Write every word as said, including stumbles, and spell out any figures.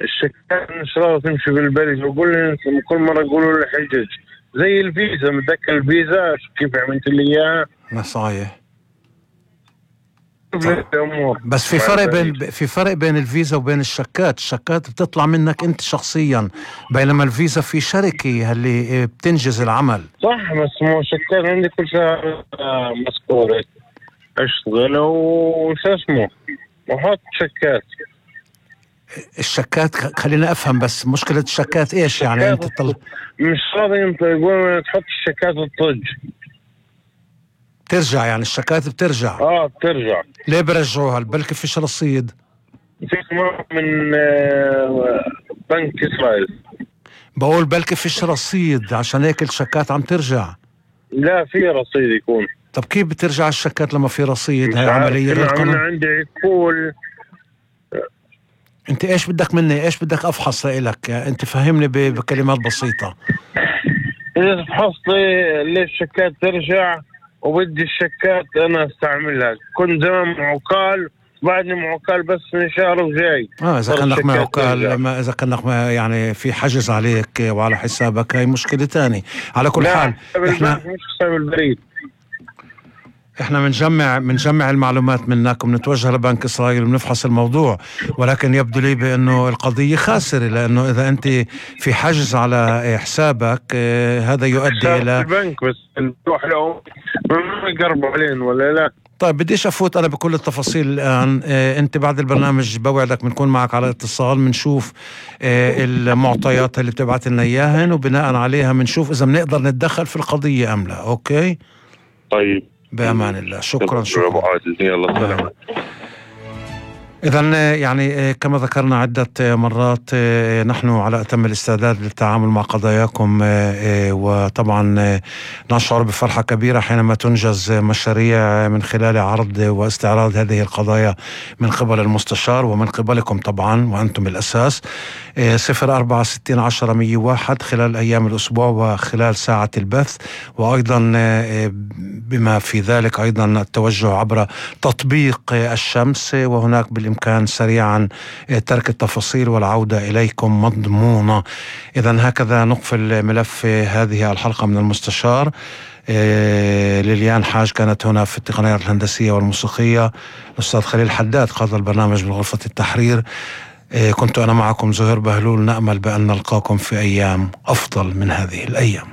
الشكات مش راضي تمشي بالبلد، وقول لي كل مرة يقولوا لي حجج زي الفيزا. متذكر الفيزا كيف عملت لي اياها؟ ما صحيح. الأمور. بس في فرق بين في فرق بين الفيزا وبين الشكات. الشكات بتطلع منك انت شخصيا، بينما الفيزا في شركة اللي بتنجز العمل. صح، بس مو شكات عندي كل شهر مسكورة اشتغل وش اسمه وحط شكات. الشكات خلينا افهم بس مشكلة الشكات ايش يعني؟ انت طل... مش راضي، انت يقول تحط الشكات الطج ترجع، يعني الشكات بترجع. اه بترجع. ليه برجعوها؟ بلكي فيش رصيد. في من آه بنك اسرائيل. بقول بلكي فيش رصيد عشان هيك الشكات عم ترجع. لا في رصيد يكون. طب كيف بترجع الشكات لما في رصيد؟ هاي عملية غير قانونية. عندي عقول. انت ايش بدك مني؟ ايش بدك افحص لك؟ انت فهمني بكلمات بسيطة. اذا فحصت ليش الشكات ترجع وبدي الشكات انا استعملها. كنت زمان معوكال، بعدني معوكال بس من شهر وجاي. اه اذا كانك معوكال، ما اذا كانك يعني في حجز عليك وعلى حسابك، هاي مشكلة تاني. على كل حال احنا مش حساب البريد. احنا بنجمع بنجمع المعلومات منك وبنتوجه لبنك اسرائيل وبنفحص الموضوع، ولكن يبدو لي بانه القضيه خاسره، لانه اذا انت في حجز على حسابك اه هذا يؤدي الى البنك بس نروح له ما يقربوا علينا ولا لا. طيب بديش افوت انا بكل التفاصيل الان. اه انت بعد البرنامج بوعدك بنكون معك على اتصال، بنشوف اه المعطيات اللي بتبعت لنا اياهن، وبناء عليها بنشوف اذا بنقدر نتدخل في القضيه ام لا. اوكي طيب بأمان الله. شكرا شكرا. يلا إذن يعني كما ذكرنا عدة مرات نحن على أتم الاستعداد للتعامل مع قضاياكم، وطبعا نشعر بفرحة كبيرة حينما تنجز مشاريع من خلال عرض واستعراض هذه القضايا من قبل المستشار ومن قبلكم طبعا وأنتم الأساس. صفر أربعة ستين عشرة مية واحد خلال أيام الأسبوع وخلال ساعة البث، وأيضا بما في ذلك أيضا التوجه عبر تطبيق الشمس، وهناك بالإمكان سريعا ترك التفاصيل والعودة إليكم مضمونة. إذن هكذا نقفل ملف هذه الحلقة من المستشار. ليليان حاج كانت هنا في التقنيات الهندسية والموسيقية، الأستاذ خليل حداد قاد البرنامج من غرفة التحرير. كنت أنا معكم زهير بهلول، نأمل بأن نلقاكم في أيام أفضل من هذه الأيام.